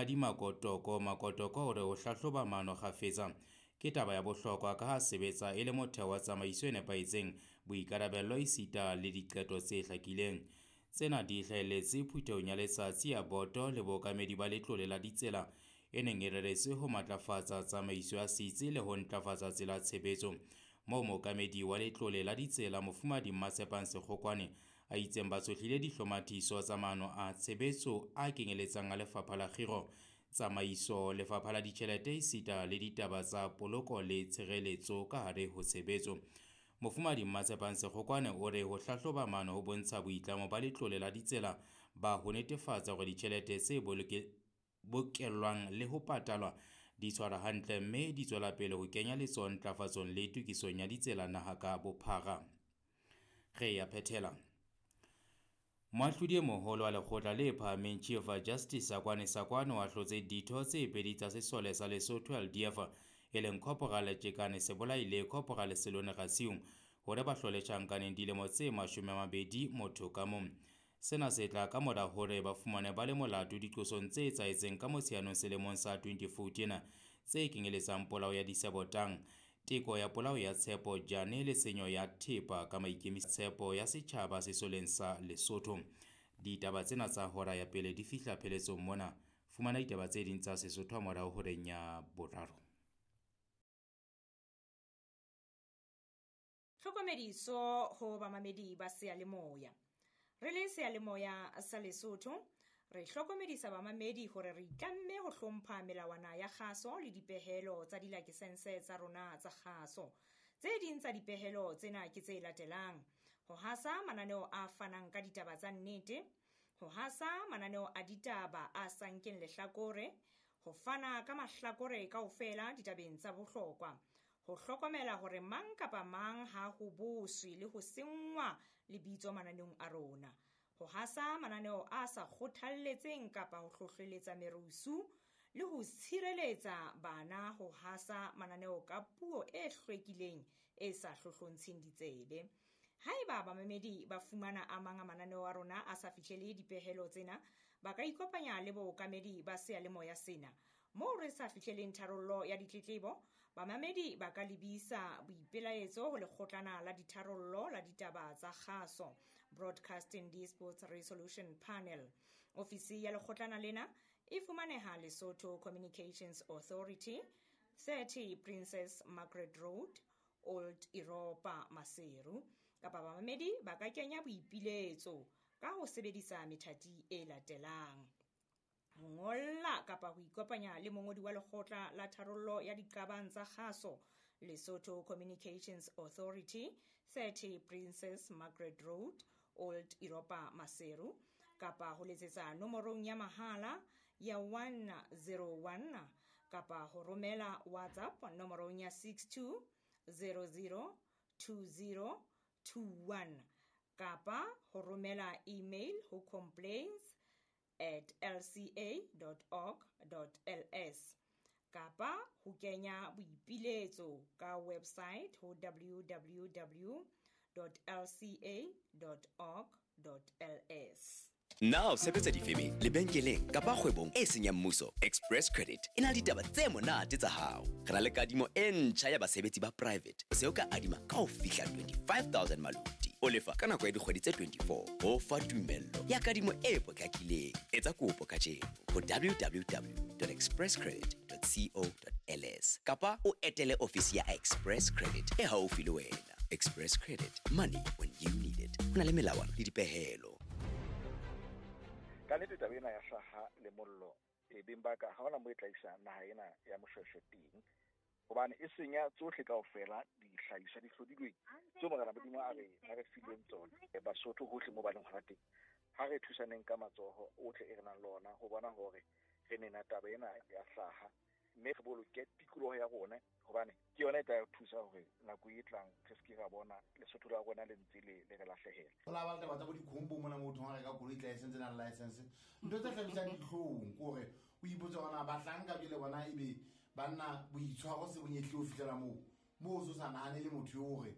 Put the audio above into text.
Monghadi Makotoko Makotoko o re ho hlahloba maano kgafetsa ke taba ya bohlokwa ka ha sebetsa e le motheo wa tsamaiso e nepahetseng, boikarabello esita le diqeto tse hlakileng. Tsena di hlahelletse phuthehong ya letsatsi ya boto le bookamedi ba letlole la ditsela e neng e reretswe ho matlafatsa tsamaiso ya setsi le ho ntlafatsa tsela ya tshebetso. Moo mookamedi wa letlole la ditsela Mofumahadi Mmatshepang Sekgokwane a itseng ba tshohlile dihlomathiso tsa maano a tshebetso a kenyeletsang a Lefapha la Kgiro, Tsamaiso, Lefapha la Ditjhelete esita le ditaba tsa poloko le tshireletso ka hare ho tshebetso. Mofumahadi Mmatshepang Sekgokwane o re ho hlahloba maano ho bontsha boitlamo ba letlole la ditsela ba ho netefatsa hore ditjhelete tse bokellwang le ho patalwa di tshwarwa hantle mme di tswela pele ho kenya letsoho ntlafatsong le tokisong ya ditsela naha ka bophara. Re ya phethela. Moahlodi e moholo wa lekgotla le phahameng Chief Justice Sakoane Sakoane o ahlotse ditho tse pedi tsa sesole sa Lesotho LDF e leng Corporal Tjekane Sebolai le Corporal Selone Rasiung hore ba hlole tjhankaneng dilemo tse 20 motho ka mong. Sena se tla ka mora hore ba fumane ba le molato diqosong tse etsahetseng ka Motsheanong selemong sa 2014 tse kenyeletsang polao ya Disebotang, teko ya polao ya Tshepo Jane le tshenyo ya thepa ka maikemisetso ya setjhaba sesoleng sa Lesotho. Ditaba tsena tsa hora ya pele di fihla pheletsong mona. Fumana ditaba tse ding tsa Sesotho ha morao horeng ya boraro. Tlhokomediso ho bamamedi ba seyalemoya. Re le seyalemoya sa Lesotho, re hlokomedisa bamamedi hore re itlamme ho hlompha melawana ya kgaso le dipehelo tsa dilakesense tsa rona tsa kgaso. Tse ding tsa dipehelo tsena ke tse latelang: ho hasa mananeo a fanang ka ditaba tsa nnete, ho hasa mananeo a ditaba a sa nkeng lehlakore, ho fana ka mahlakore kaofela ditabeng tsa bohlokwa, ho hlokomela hore mang kapa mang ha ho boswe le ho senngwa lebitso mananeong a rona, ho hasa mananeo a sa kgothalletseng kapa ho hlohleletsa merusu le ho tshireletsa bana ho hasa mananeo ka puo e hlwekileng e sa hlohlontsheng ditsebe. Haeba bamamedi ba fumana a mang a mananeo a rona a sa fihlele dipehelo tsena, ba ka ikopanya le bookamedi ba seyalemoya sena. Moo re sa fihleleng tharollo ya ditletlebo, bamamedi ba ka lebisa boipelaetso ho lekgotlana la ditharollo la ditaba tsa kgaso, Broadcasting Disputes Resolution Panel. Ofisi ya lekgotlana lena e fumaneha Lesotho Communications Authority, 30 Princess Margaret Road, Old Europa, Maseru. Kapa bamamedi ba ka kenya boipiletso ka ho sebedisa methati e latelang: ho ngolla kapa ho ikopanya le mongodi wa lekgotla la tharollo ya diqabang tsa kgaso, Lesotho Communications Authority, 30 Princess Margaret Road, Old Europa, Maseru, kapa ho letsetsa nomorong ya mahala ya 101 kapa ho romela WhatsApp nomorong ya 62 00 20 21 kapa ho romela email ho complaints@lca.org.ls kapa ho kenya boipiletso ka website ho www.lca.org.ls. Na o sebetsa difemeng, lebenkeleng kapa kgwebong e seng ya mmuso? Express Credit e na le ditaba tse monate tsa hao. Re na le kadimo e ntjha ya basebetsi ba private. O se o ka adima ka ho fihla 25,000 maluti. O lefa ka nako ya dikgwedi tse 24. Ho fa tumello ya kadimo e potlakileng. Etsa kopo kajeno ho www.expresscredit.co.ls kapa o etele ofisi ya Express Credit e haufi le wena. Express Credit, money when you need it. Ho na le melawana le dipehelo. Ka nnete taba ena ya hlaha le mollo e beng ba ka ha hona mo e tla isa naha ena ya Moshweshwe teng, hobane e senya tsohle kaofela dihlahiswa di hlodilweng tseo Morena Modimo a re fileng tsona. Basotho hohle mo ba leng hona teng, ha re thusaneng ka matsoho ohle e re nang le ona ho bona hore re nena taba ena ya hlaha, mme re boloke tikoloho ya rona, hobane ke yona e tla re thusa hore nako e tlang re se ke ra bona Lesotho la rona le ntse le re lahlehela. Ho la ba le taba tsa bo dikhombo mona motho ha reka koloi tla e sentse nang license. Ntho tse hlabisang dihlong ke hore o ipotse hore na bahlanka jwale bona ebe banna boitshwaro se bonyehle ho fihlela moo. Moo o so sa nahane le motho eo hore